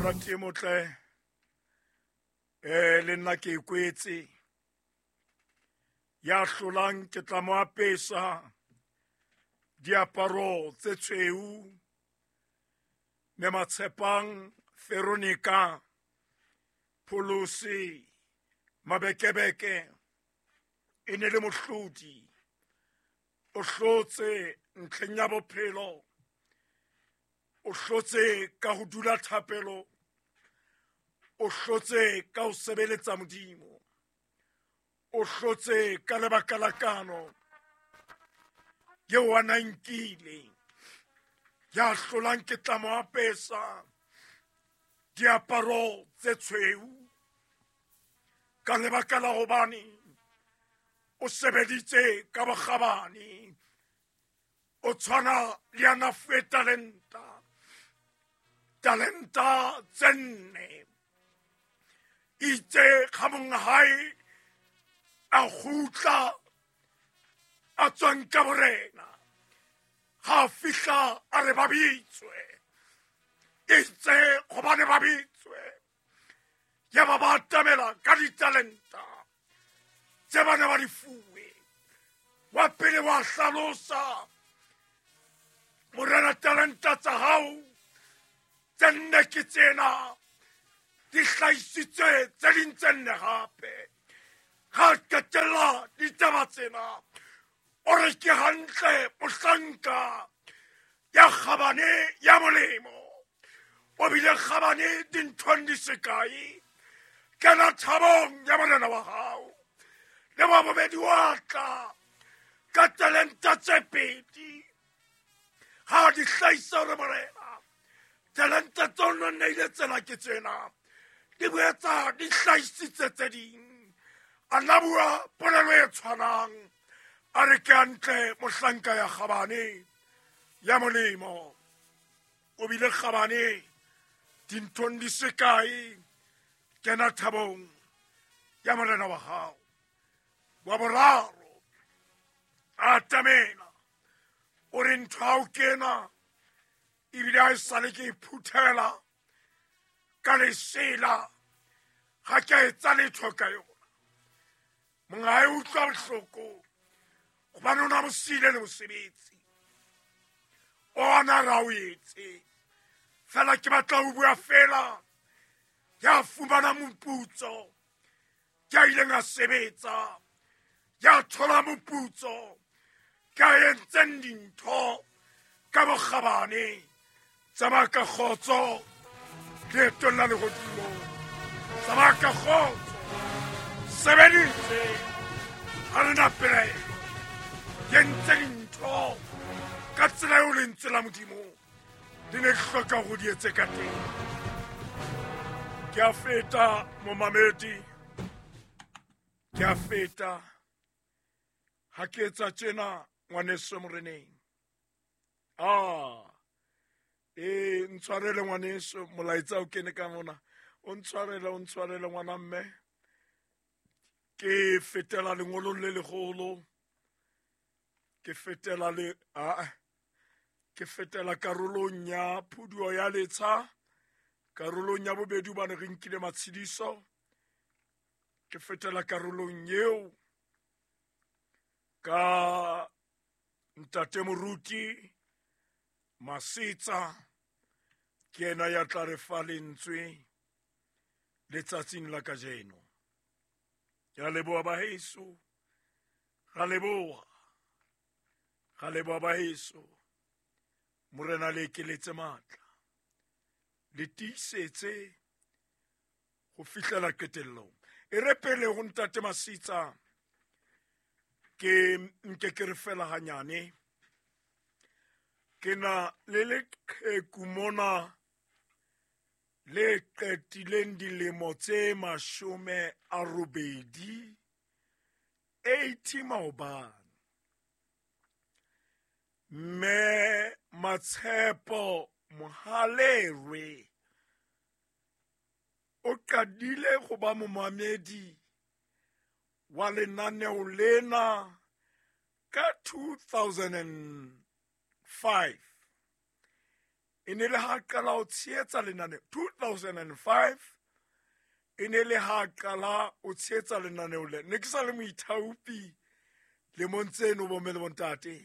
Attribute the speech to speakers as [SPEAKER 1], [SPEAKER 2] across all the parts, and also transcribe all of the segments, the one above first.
[SPEAKER 1] Morati e motle, le nna ke e kwetse. Ya hlolang ke tla mo apesa diaparo tse tshweu. Mme Matshepang Veronica Pholosi Mabekebeke e ne le mohlodi. O hlotse ntlheng ya bophelo, o hlotse ka ho dula thapelo, o hlotse ka ho sebeletsa Modimo, o hlotse ka lebaka la kano eo a na nkile. Ya hlolang ke tla mo apesa diaparo tse tshweu ka lebaka la hobane o sebeditse ka bokgabane. O tshwana le ya na fuwe talenta, talenta tse nne. Itse ga monga hae a kgutla a tswang ka borena, ga a fihla a re ba bitswe. Itse gobane ba bitswe, ya ba ba atamela ka ditalenta tse ba ne ba di fuwe. Wa pele wa hlalosa, morena, talenta tsa hao tse nne ke tsena, di hlahisitse tse ding tse nne gape. Ga qetella ditaba tsena, o re ke hantle mohlanka ya kgabane ya molemo, o bile kgabane dinthong di sekae, kena thabong ya morena wa hao. Le wa bobedi wa tla ka talenta tse pedi, ha di hlahisa hore morena talenta tseo no neile tsena ke tsena, di boetsa di hlahisitse tse ding. A nna bua polelo e tshwanang, a re ke hantle mohlanka ya kgabane ya molemo, o bile kgabane dinthong di sekae, kena thabong ya morena wa hao. Wa boraro a atamela, o re ntho ha o kena ebile ha e sale ke iphuthela ka lesela, ga ke a etsa letho ka yona. Monga hae utlwa bohloko gobane o na mo siile le mosebetsi o ana ra o etse. Fela ke batla ho bua fela, ya fumana moputso ke a ileng a sebetsa, ya thola moputso ke a entseng dintho ka bokgabane. Tsamaya ka kgotso leetong la lehodimo, tsamaya ka kgotso, sebeditse ha re na pelaelo, ke entse dintho ka tsela eo lentswe la Modimo le ne hloka hore di etse ka teng. Ke a feta momamedi, ke a feta. Ha ke etsa tjena ngwaneso moreneng, ntshwarele ngwaneso, molaetsa o kene ka mona, o ntshwarele, o ntshwarele ngwana mme. Ke fetela lengolong le legolo, ke fetela le ke fetela karolong ya phuduo ya letsha, karolong ya bobedi hobane re nkile matshidiso. Ke fetela karolong eo ka ntate moruti Masetsa, ke yena ya tla re fa lentswe letsatsing la kajeno. Ke a leboha baheso, ra leboha, ra leboha baheso. Morena le ekeletse matla, le tiisetse ho fihlela qetellong. E re pele ho ntate Masitsa, ke nke ke re fela hanyane. Ke na le leqheku mona le qetileng dilemo tse 80, 80 maobane. Mme Matshepo Mohalerwe o qadile go ba momamedi wa lenaneo lena ka 2005. E ne le ha qala ho tshehetsa lenaneo 2005, e ne le ha qala o tshehetsa lenaneo le. Ne ke sa le moithaopi lemong tseno, bomme le bontate,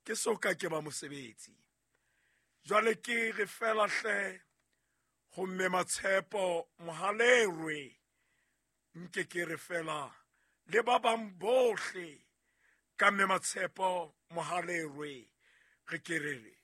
[SPEAKER 1] ke so ka ke ba mosebetsi. Jwale ke re fela hle ho mme Matshepo Mohalerwe, nke ke re fela le ba bang bohle ka mme Matshepo Mohalerwe, re ke re re.